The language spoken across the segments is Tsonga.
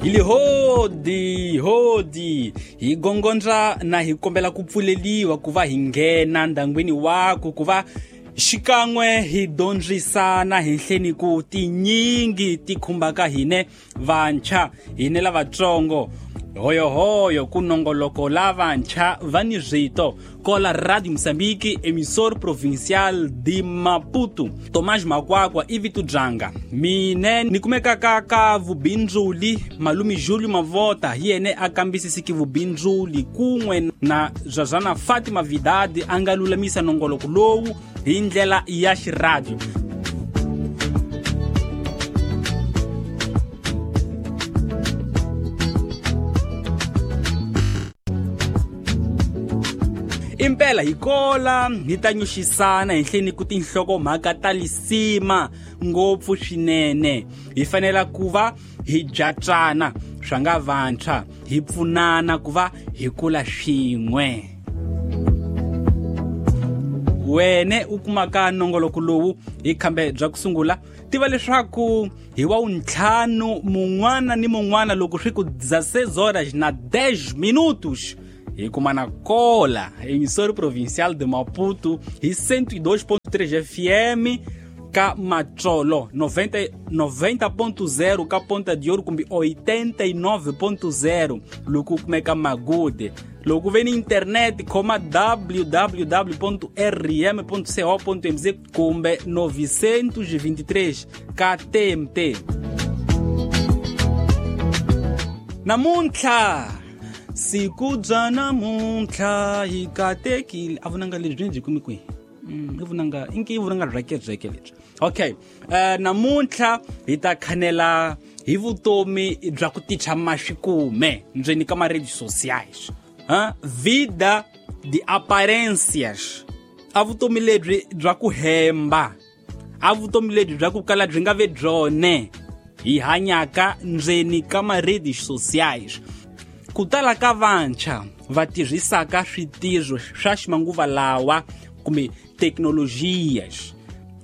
Hi li hodi hodi hi gongondza na hi kombela ku pfuleliwa ku va hi nghena ndangwini waku ku va xikan'we hi dyondzisana henhleni ku tinyingi ti khumbaka hine vantshwa hine lavatsongo. Hoyohoyo ku nongoloko lavantshwa va ni rito kola Radio Moçambique, emissor provincial de Maputo. Tomás Makwakwa i vito byanga mine ni kumekaka ka vubindzuli. Malume Julio Mavota hi yene a kambisisiki vubindzuli kun'we na Zazana Fatima Vidadi a nga lulamisa nongoloko lowu hi ndlela ya xiradio. Impela hi kola hi ta nyuxisana henhleni ku tinhlokomhaka ta lisima ngopfu swinene. Hi fanela ku va hi byatsana swa nga vantshwa, hi pfunana ku va hi kula swin'we. Wene u kumaka nongoloko lowu hi khambe bya ku sungula, tiva leswaku hi wa wuntlhanu mun'wana ni mun'wana loko swi ku 16 horas na 10 minutos hi kumana kola emissora provincial de Maputo hi 102.3 FM ka Matsolo, 90.0 ka Ponta de Ouro kumbe 89.0 loko u kumeka Magude. Loko ve ni internet khoma www.rm.co.mz kumbe 923 ka TMT. Namuntlha siku bya namuntlha hi katekile. A vunanga lebyi byi kumi kwihi? I vunanga inki i vunanga rheke lebyi. Okay, namuntlha hi ta khanela hi vutomi bya ku ticha maxikume ndzeni ka ma-redes sociais. Vida de aparências. A vutomi lebyi bya ku hemba, a vutomi lebyi bya ku kala byi nga ve byone hi hanyaka ndzeni ka ma-redes sociais. Ku tala ka vantshwa va tirhisaka switirho swa ximanguva lawa kumbe teknolojias,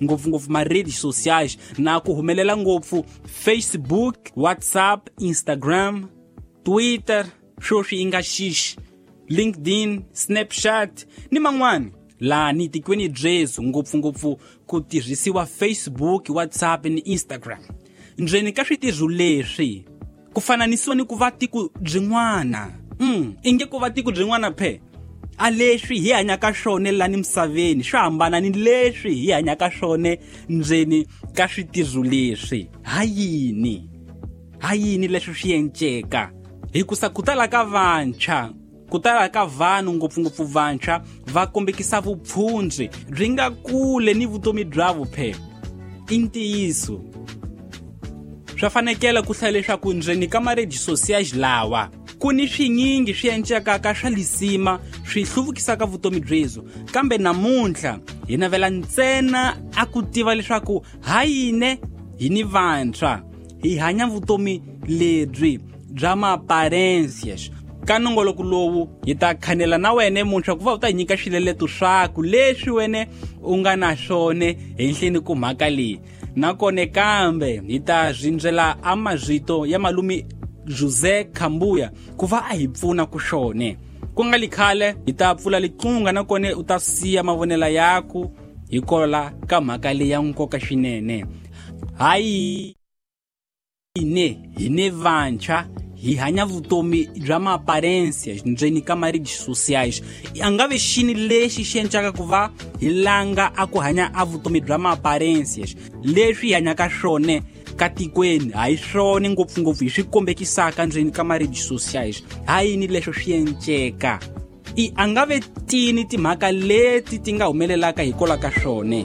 ngopfungopfu ma-redes sociais, na ku humelela ngopfu Facebook, WhatsApp, Instagram, Twitter, sweswi yi nga xixi, LinkedIn, Snapchat ni man'wani. Lani tikweni byezu ngopfungopfu ku tirhisiwa Facebook, WhatsApp ni Instagram. Ndzeni ka switirho leswi ku fananisiwa ni ku va tiko byin'wana. Inge ku va tiko byin'wana phe. A leswi hi hanyaka swona lani misaveni swi hambana ni leswi hi hanyaka swona ndzeni ka switirho leswi. Ha yini? Ha yini leswi swi enceka? Hikusa ku tala ka vantshwa, ku tala ka vanhu ngopfungopfu vantshwa va kombekisa vupfundzi byi nga kule ni vutomi bya vuphe. I ntiyiso. Swa fanekela ku hlaya leswaku ndzeni ka ma-redes sociais lawa ku ni swinyingi swi encekaka swa lisima swi hluvukisaka vutomi byezu, kambe namuntlha hi navela ntsena a ku tiva leswaku ha yini hi ni vantshwa hi hanya vutomi lebyi bya ma-aparências. Ka nongoloko lowu hi ta khanela na wena muntshwa ku va u ta nyika swileleto swaku leswi wena u nga na swona henhleni ku mhaka leyi. Nakona kambe hi ta rindzela a mazito ya malume José Kambuya ku va a hi pfuna ku swona. Ku nga li khale hi ta pfula liqunga nakona u ta siya mavonela yaku hi kola ka mhaka leyi ya nkoka swinene. Hayi ine hi ne vantshwa hi hanya vutomi bya ma-aparências ndzeni ka ma-redes sociais. A nga ve xini lexi xi encaka ku va hi langa a ku hanya a vutomi bya ma-aparências. Leswi hi hanyaka swona ka tikweni ha hi swona ngopfungopfu hi swi kombekisaka ndzeni ka ma-redes sociais. Ha yini leswo swi enceka? I a nga ve tini timhaka leti ti nga humelelaka hikwalaho ka swona.